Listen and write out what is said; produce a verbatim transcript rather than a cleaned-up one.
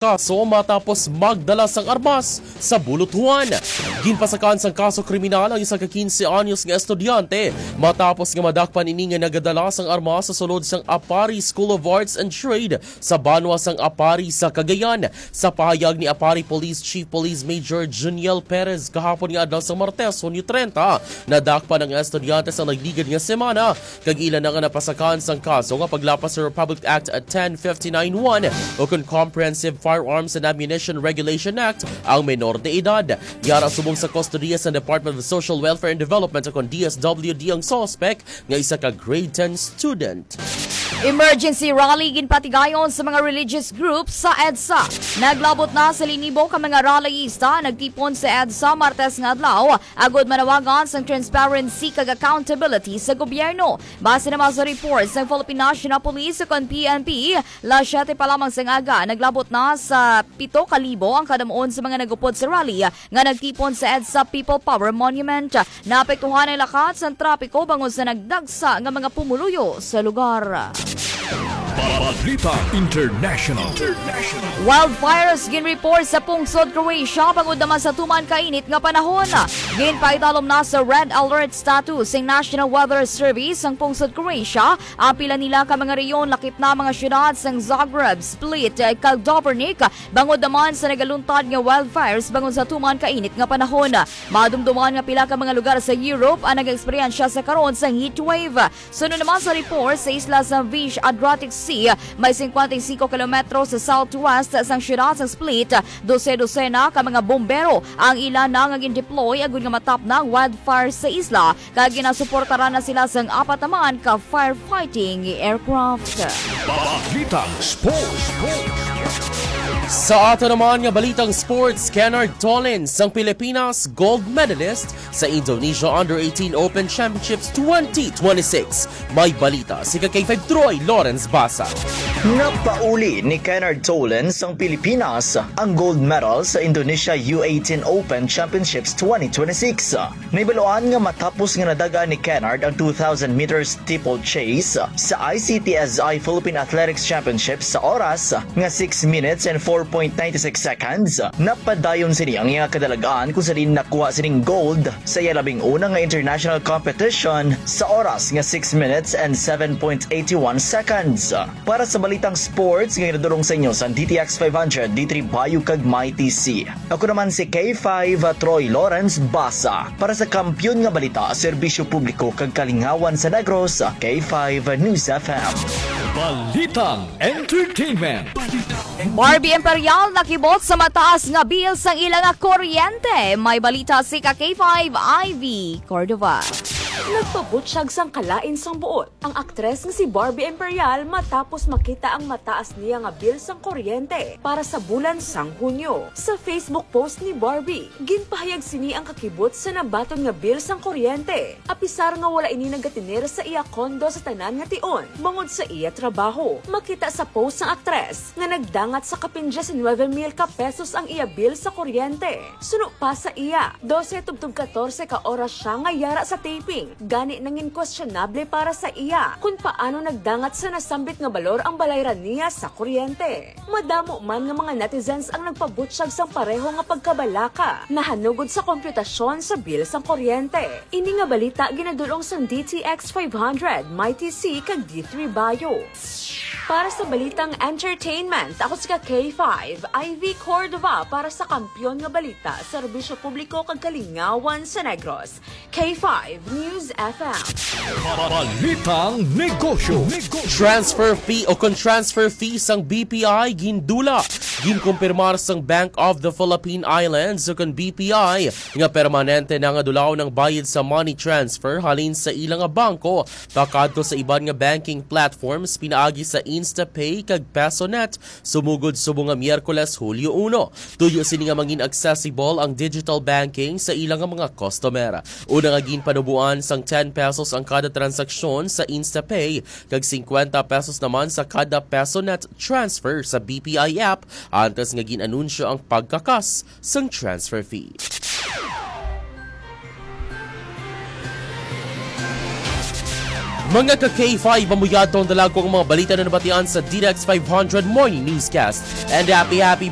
kaso matapos magdala sang armas sa bulutuhan. Ginpasakan sang kaso kriminal ang isa ka quince anyos nga estudyante matapos nga madakpan ini nga nagadala sang armas sa sulod sang Apari School of Arts and Trade sa banwa sang Apari sa Cagayan. Sa pahayag ni Apari Police Chief Police Major Juniel Perez kahapon nga adlaw sa Martes, Hunyo treinta, nadakpan ang estudyante sa nagligad nga semana kag ila na nga napasakan sang kaso nga paglapas sa Republic Act ten fifty-nine one o kon Comprehensive Firearms and Ammunition Regulation Act ang menor de edad. Yara subong sa kustodiya sa Department of Social Welfare and Development o kon D S W D ang suspect nga isa ka grade ten student. Emergency rally ginpatigayon sa mga religious groups sa EDSA. Naglabot na sa linibo ka mga rallyista nagtipon sa EDSA Martes nga adlaw agud manawagan sang transparency kag accountability sa gobyerno. Base naman sa report sang Philippine National Police o kon P N P, las siyete pa lamang sang aga naglabot na sa pito ka libo ang kadamuon sa mga nagupod sa rally nga nagtipon sa EDSA People Power Monument. Naapektuhan ang lakat sang trapiko bangod sa nagdagsa nga mga pumuluyo sa lugar. Balita International. Wildfires ginreport sa pungsod Croatia bangod naman sa tuman kainit nga panahon. Ginpaidalom na sa red alert status sing National Weather Service ang pungsod Croatia. Ang pila nila ka mga rehiyon lakip na mga syudad sang Zagreb, Split, kag Dubrovnik bangod naman sa nagaluntad nga wildfires bangod sa tuman kainit nga panahon. Madumduman nga pila ka mga lugar sa Europe ang nag-eksperyensya sa karon sang heat wave. Suno naman sa report, sa isla sa Vish Adriatic Sea, may singkwenta y singko kilometro sa southwest sang siyudad sang Split, dose-dosena ka mga bombero ang ila na nga gin-deploy agud nga matapna ang wildfire sa isla, kag ginasuportaran na sila sang apat naman ka firefighting aircraft. Balitang Sports. Sa ato naman nga balitang sports, Kennard Tolin sang Pilipinas, gold medalist sa Indonesia Under eighteen Open Championships twenty twenty-six. May balita si ka K five Troy Lawrence Basa. Napauli ni Kennard Tolan sang Pilipinas ang gold medal sa Indonesia U eighteen Open Championships twenty twenty-six. Nahibaluan nga matapos nga nadagan ni Kennard ang two thousand meters steeplechase sa I C T S I Philippine Athletics Championships sa oras nga six minutes and four point nine six seconds, napadayon sini ang iya kadalagan kung sa diin nakuha sining gold sa iya labing una nga international competition sa oras nga six minutes and seven point eight one seconds. Para sa balitang sports nga ginadulong sa inyo sa D T X five hundred, D three Bayo kag Mighty C. Ako naman si K five Troy Lawrence Basa para sa Kampiyon nga Balita, Serbisyo Publiko kag Kalingawan sa Negros, K five News F M. Balitang Entertainment. Barbie Imperial nakibot sa mataas nga bill sang ila nga kuryente. May balita si ka K five Ivy Cordova. Nagpabutyag sang kalain sang buot ang aktres nga si Barbie Imperial matapos makita ang mataas niya nga bill sang kuryente para sa bulan sang Hunyo. Sa Facebook post ni Barbie, ginpahayag sini ang kakibot sa nabaton nga bill sang kuryente, apisar nga wala ini nagatener sa iya kondo sa tanan nga tion bangod sa iya trabaho. Makita sa post sang aktres nga nagdangat sa kapin diecinueve mil ka pesos ang iya bill sa kuryente. Suno pa sa iya, dose tubtob katorse ka oras sia nga yara sa taping. Gani nangin questionable para sa iya kon paano nagdangat sa nasambit nga balor ang balayran niya sa kuryente. Madamo man nga mga netizens ang nagpabutyag sang pareho nga pagkabalaka nahanungod sa kompyutasyon sa bill sang kuryente. Ini nga balita ginadul-ong sang D T X five hundred, Mighty C, kag D three Bayo. Para sa balitang entertainment, ako si ka K five, Ivy Cordova para sa Kampiyon nga Balita, Serbisyo Publiko kag Kalingawan sa Negros, K five News F M. Balitang Negosyo. Transfer fee o kon transfer fee sang B P I gindula. Ginkumpirmar sang Bank of the Philippine Islands o kon B P I nga permanente na nga dulaon ang bayad sa money transfer halin sa ila nga bangko pakadto sa iban nga banking platforms pinaagi sa InstaPay kag PesoNet sumugod subong nga Miyerkules, Hulyo uno. Tuyo sini nga mangin accessible ang digital banking sa ila nga mga customer. Una nga ginpanuboan sang ten pesos ang kada transaksyon sa InstaPay kag singkwenta pesos naman sa kada PesoNet transfer sa B P I app antes nga gin-anunsyo ang pagkakas sang transfer fee. Mga ka K five, amo yadto ang dalagko nga mga balita na nabatian sa D X five hundred Morning Newscast. And happy, happy